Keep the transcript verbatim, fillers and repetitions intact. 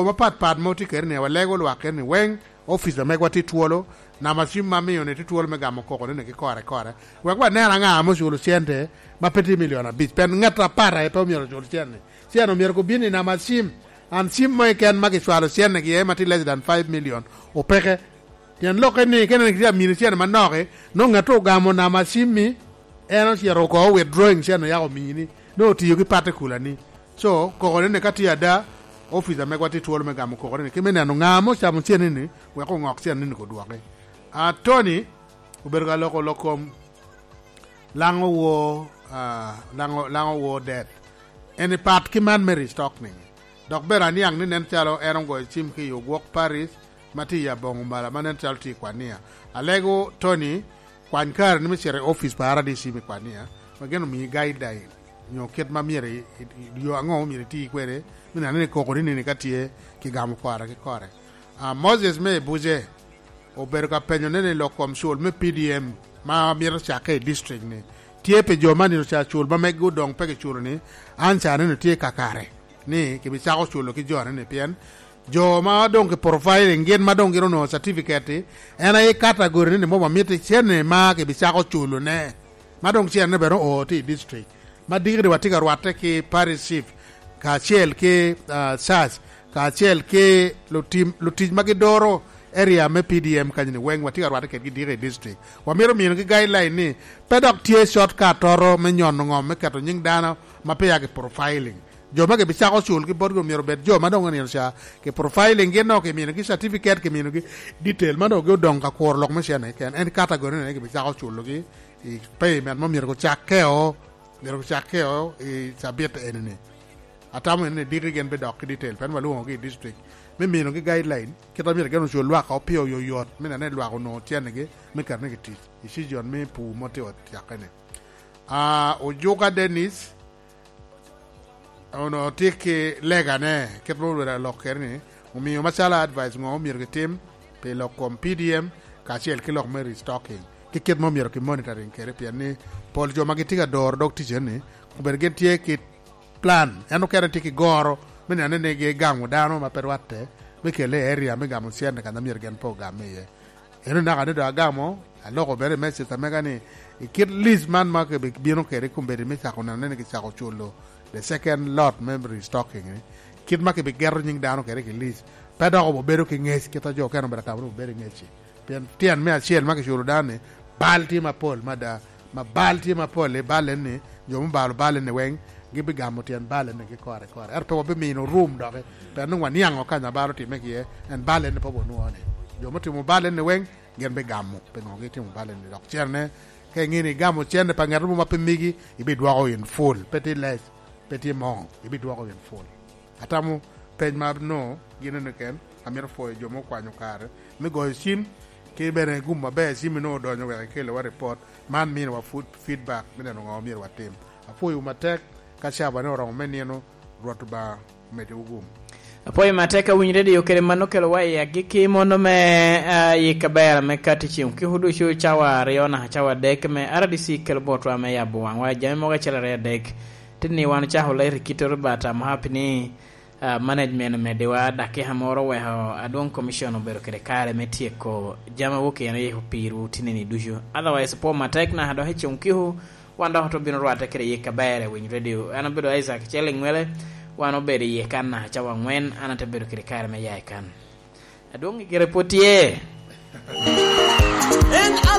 mapat pat ma otye kede ni, walego lwak kede ni weng, ofica megwa tye twolo, namba cim ma mio ni tye twolo me gamo koko ni ki kore kore. Wek wanen aŋa ame oculo cente ma pe tye milion abic. Pien ŋat apat aye pe omyero ocul cente. Cente omyero gubin i namba cim. An cim mo keken ma kicwalo cente gi iye ma tye less than five million, opeke. Pien lokke ni, kene ni kitye amini cene manok-ki, nongo ŋat ogamo namba cimmi, en ocito oko withdrawing cene oyako omini, nongo otiyo ki particular-ni. So, koko ni ka tye ada, ofica megwa tye twolo me gamo koko ni, ki me neno ŋa ame ocamo cene-ni, wek oŋok cene-ni odwoki. A, Tony obedo ka loko lok kom Laŋo wo, ah, Laŋo, Laŋo wo death. En i pat ki man me restocking. Dok bene aniaŋ ni nen calo en ogoyo cim ki i ogwok Paris ma tye i aboŋo mala ma nen calo tye i Kwania. Alego Tony, kwany kare ni me cito i ofice pa R D C me Kwania, ma gin omii guideline, nyo kit ma myero i, i, i, yo aŋo myero iti kwede, me neno ni koko ni nini ka tye ki gamo kore ki kore. Ah, Moses me Ebuje obedo ka penyo ni, ni lok kom cul me P D M ma mito cakke i district ni, tye pi jo ma nino ca cul ma megi odoŋ pe kiculo ni, an ca nino tye kakare ni kibicako culo ki jo ni, pien jo ma doŋ ki profiling gin ma doŋ gin onongo certificate-ti, en aye category ni, ni mom amito cene ma kibicako culo ne, ma doŋ cene bene oo tye i district. Ma dikni watye ka rwatte ki parish chief, kacel ki, ah, church, kacel ki lutim, lutic ma gidoro area me P D M kanyo-ni weng, watye ka rwatte kedgi diki i district. Wamito minogi guideline ni pe dok tye shortcut oro me nyono ŋom me keto nyiŋ dano ma peya ki profiling. Jo ma gibicako cul ki botgi myero obed jo ma doŋ onino ca ki profiling, gin nongo kiminogi certificate, kiminogi detail ma doŋ odoŋ ka kuro lok me cene keken. En category ni gibicako culogi i payment ma myero gucakke o, myero gucakke o i cabit eni-ni. Atamo ni diki gin bidok ki detail, pien walwoŋogi i district me minogi guideline, kit a myero gin ocul lwak o pio oyoyot, me neno ni lwak onwoŋo cennigi me keto ni i tic, i season me pur ma tye ocakke-ni. Ah, Ojuka Dennis, onwoŋo tye ki legane, kit ma olwela lok kede ni, omio macalo advice ŋo myero gitim pi lok kom P D M kacel ki lok me restocking, ki kit ma myero ki monitoring kede, pien ni pol jo ma gitye ka doro dog ticeni, obedo gin tye ki plan, en okene tye ki goro me neno ni gigamo dano ma pe rwatte, me kelle i area me gamo cente kan a myero gin pe ogam iye. Eno naka ni doŋ agamo, aloko bene i message amega ni, i kit list man ma kibino kede i kombeddi me cako neno ni kicako culo the second lot me restocking ni, kit ma kibigeto nyiŋ dano kede ki list, pe dok obedo ki ŋec, kit a jo okene obedo atamo ni obedo i ŋec-ci. Pien tyen me acel ma kiculo dano ni, bal tye mapol mada, ma bal tye mapol i bal en ni, jo mubalo bal en ni weng, gibigamo tyen bal en ni ki kore kore. Ento pe wabimino rum doki, pien nwoŋo waniaŋo kany a bal otimme ki iye, en bal en ni pe wonwoŋo ni. Jo mutimo bal en ni weng, gin bigamo, pe ŋo gitimo bal en ni. Dok cene, ka iŋeo ni igamo cene pa ŋat mo ma pe migi, ibidwoko in full, pe tye less, pe tye more, ibidwoko in full. Atamo peny ma no gin eno ken, amito pwoyo jo ma okwanyo kare me goyo cim, ki bene gum aber cim ino odonyo wek ikelewa report, man miniwa food feedback me neno ŋo myero watim. Apwoyowu matek, ka cabane oromo me nino, Rwot Obaŋa omeddiwu gum. Apwoyo matek awinyo redio kede mano okelowa i agikki mono me, ah, yik aber me kati ceŋ okiko ducu cawa aryo naka cawa adek me R D C kelo botwa me yabo waŋwa jami mogo acel aryo adek. Tini wan ocako lero i kite Robert Amhapi ni, ah, management omeddiwa dakika moro oweko adwoŋ commission obedo kede kare me tyeko jami awok en oyiko pirwu tinini ducu. Otherwise, pwo matek naka dok i ceŋ okiko, wan dok otye obino rwatte kede yik aber i Winy Radio. An obedo Isaac Cel Iŋwele, wan obedo iye kan naka cawa aŋwen, an ate bedo kede kare me ya i kan. Adwoŋ i gire pwod tye.